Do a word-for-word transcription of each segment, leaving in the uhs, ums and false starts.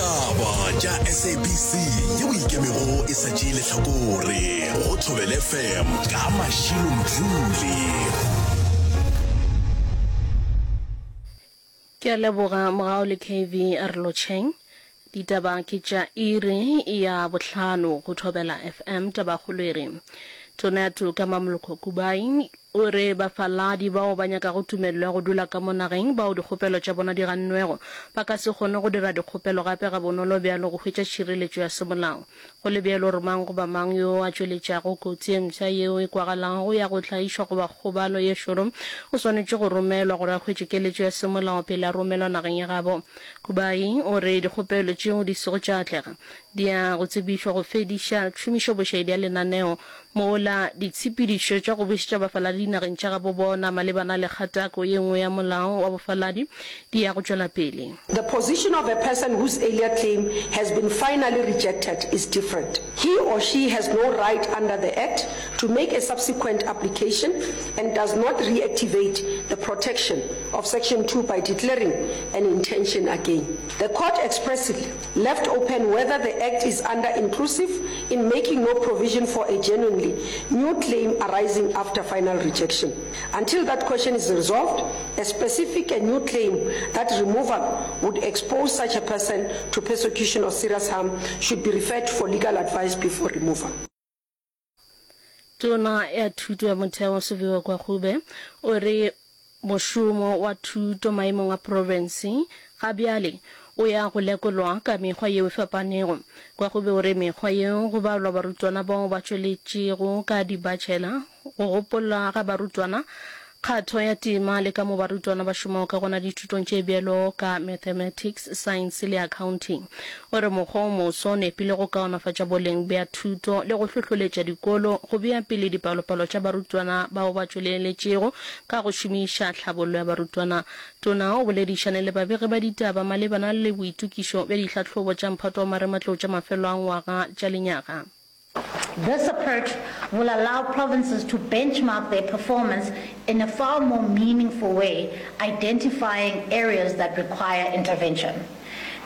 Ditaba tša S A B C yeo e ikemego e sa tšee lehlakore go Thobela F M ka Mashilo Mdluli. Ke a leboga Mogau le K V a re lotšheng. Ditaba ke tša iri ya bohlano go Thobela F M. Tabakgolo e re Tona ya Toka Mamoloko Kubayi o re bafaladi bao ba nyakago tumelelo ya go dula ka mo nageng bao dikgopelo tša bona di gannwego ba ka se kgone go dira dikgopelo gape gabonolo bjalo go hwetša tšhireletšo ya semolao. Go le bjalo re mang goba mang yo a tšweletšago kotsi e mpsha yeo e kwagalago ya go tlaišwa goba kgobalo ye šoro o swanetše go romelwa gore a hwetše keletšo ya semolao pele a romelwa nageng ya gabo. Kubayi o re dikgopelo tšeo di sego tša atlega di ya go tsebišwa go fediša tšhomišobošaedi ya lenaneo mola ditshepedišo tša go bušetša bafaladi dinageng tša gabo bona malebana le kgatako ye nngwe ya molao wa bofaladi di ya go tšwela pele. The position of a person whose earlier claim has been finally rejected is different. He or she has no right under the Act to make a subsequent application and does not reactivate the protection of section two by declaring an intention again. The court expressly left open whether the Act is under-inclusive in making no provision for a genuinely new claim arising after final rejection. Until that question is resolved, a specific and new claim that removal would expose such a person to persecution or serious harm should be referred for legal advice before removal. Tona ya Thuto ya Motheo Siviwe Gwarube o re mošomo wa thuto maemong a profense ga bjale o ya go lekolwa ka mekgwa yeo e fapanego. Gwarube o re mekgwa yeo go balwa barutwana bao ba tšweletšego ka dibachelor, go gopola ga barutwana, kgatho ya tema le ka mo barutwana ba šomago ka gona dithutong tše bjalo ka Mathematics, Science le Accounting. O re mokgwa o moso o nepile go kaonafatša boleng bja thuto le go hlohloletša dikolo go bea pele dipalopalo tša barutwana bao ba tšweleletšego ka go šomiša tlhabollo ya barutwana. Tona o boledišane le babegi ba ditaba malebana le boitokišo bja dihlahlobo tša mphato wa marematlou tša mafelo a ngwaga tša lenyaga. This approach will allow provinces to benchmark their performance in a far more meaningful way, identifying areas that require intervention.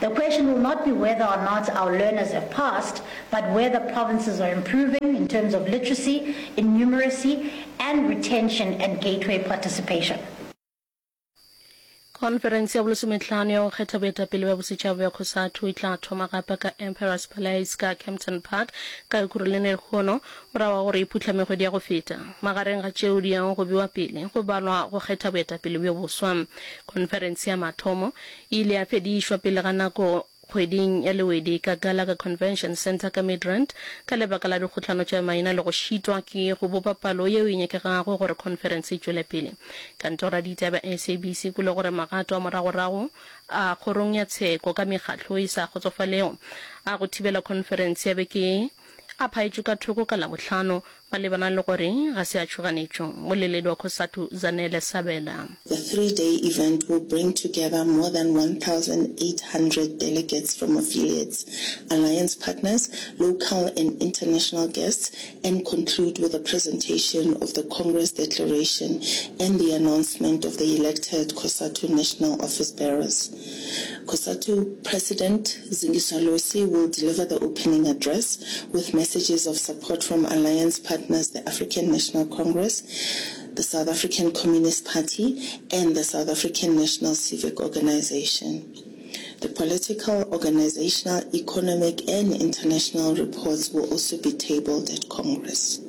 The question will not be whether or not our learners have passed, but whether provinces are improving in terms of literacy, in numeracy, and retention and gateway participation. Khonferense ya bolesomehlano ya go kgetha boetapele bja bosetšhaba bja COSATU e tla thoma gape ka Emperors Palace ka Kempton Park ka Ekurhuleni lehono morago ga gore e phuhlame kgwedi ya go feta. Magareng ga tšeo di yago go bewa pele go balwa go kgetha boetapele bjo boswa. Khonferense ya mathomo e ile ya fedišwa pele ga nako kgweding ya Lewedi ka Gallagher Convention Centre ka Midrand ka lebaka la dikgohlano tša maina le go šitwa ke go bopa palo yeo e nyakegago gore khonferense e tšwele pele. Kantoro ya ditaba ya S A B C e kwele gore magato a moragorago a kgorong ya tsheko ka mekgatlo e sa kgotsofalego a go thibela khonferense ya beke ye a phaetšwe ka thoko ka Labohlano malebana le gore ga se a tšhoganetšo. Mmoleledi wa COSATU Zanele Sabela. The three-day event will bring together more than one thousand eight hundred delegates from affiliates, alliance partners, local and international guests, and conclude with a presentation of the Congress Declaration and the announcement of the elected COSATU National Office Bearers. COSATU President Zingiswa Losi will deliver the opening address with messages of support from alliance partners the African National Congress, the South African Communist Party, and the South African National Civic Organization. The political, organizational, economic, and international reports will also be tabled at Congress.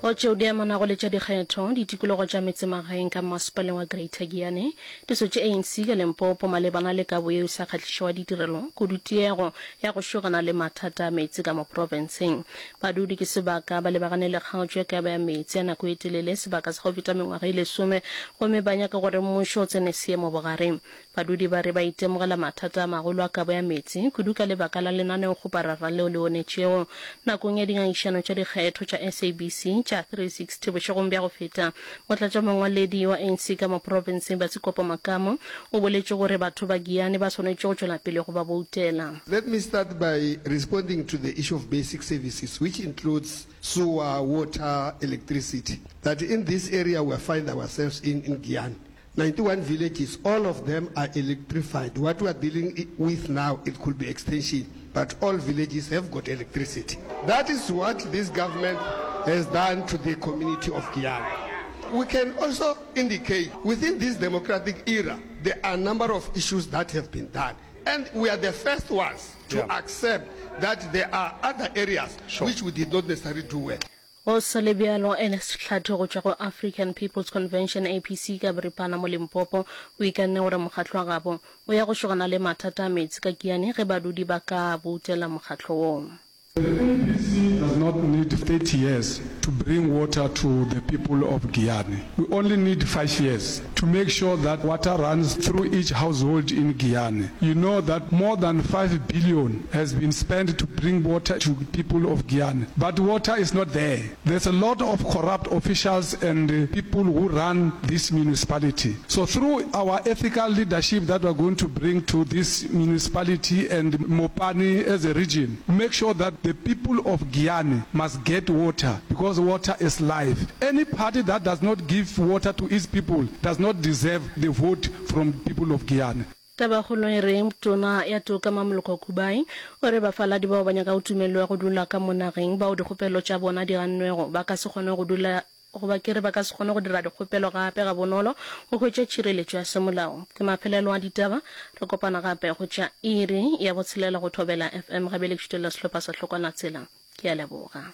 Go tšeo di amanago le tša dikgetho, ditikologo tša metsemagaeng ka Mmasepaleng wa Greater Giyani di sotše A N C ka Limpopo malebana le kabo yeo e sa kgahlišego ya ditirelo, kudu tiego ya go šogana le mathata a meetse ka mo profenseng. Badudi ke sebaka ba lebagane le kgaotšo ya kabo ya meetse ya nako e telele sebaka sa go feta mengwaga e lesome gomme ba nyaka gore mmušo o tsene seemo bogareng. Badudi ba re ba itemogela mathata a magolo a kabo ya meetse, kudu ka lebaka la lenaneokgoparara leo le onetšego nakong ya dingangišano tša dikgetho tša S A B C tša ya three sixty bošegong bja go feta. Motlatšamongwaledi wa A N C ka mo profenseng Batsikopo Makamo o boletše gore batho ba Giyani ba swanetše go tšwela pele go ba boutela. Let me start by responding to the issue of basic services, which includes sewer, water, electricity, that in this area we find ourselves in, in Giyani. ninety-one villages, all of them are electrified. What we are dealing i-, with now, it could be extension, but all villages have got electricity. That is what this government has done to the community of Giyani. We can also indicate within this democratic era, there are a number of issues that have been done. And we are the first ones to Yeah. accept that there are other areas Sure. which we did not necessarily do well. Go sa le bjalo, Ernest Tlhatho go tšwa go African People's Convention A P C ka boripana mo Limpopo o ikanne gore mokgatlo wa gabo o ya go šogana le mathata a meetse ka Giyani ge badudi ba ka boutela mokgatlo woo. The A P C does not need thirty years to bring water to the people of Giyani. We only need five years to make sure that water runs through each household in Giyani. You know that more than five billion has been spent to bring water to people of Giyani, but water is not there. There's a lot of corrupt officials and, uh, people who run this municipality. So through our ethical leadership that we're going to bring to this municipality and Mopani as a region, make sure that the people of Giyani must get water, because water is life. Any party that does not give water to its people does not deserve the vote from people of Giyani. Tabakgolo e re tona ya toka Mamoloko Kubai o re bafaladi bao ba nyaka go tumelelwa go dula ka mo nageng bao dikgopelo tša bona di gannwego ba ka se kgone go dula goba ke re ba ka se kgone go dira dikgopelo gape ga bonolo go hwetša tšhireletšo ya semolao. Ke mafelelo a ditaba, re kopana gape go tša iri ya botshelela go Thobela F M gabele ke šutelela sehlopha sa Hlokwana Tsela. Ke a leboga.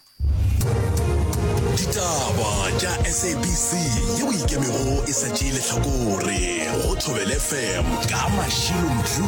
Ditaba tša S A B C yeo ikemego e sa tšee lehlakore go Thobela F M ka Mashilo Mdluli.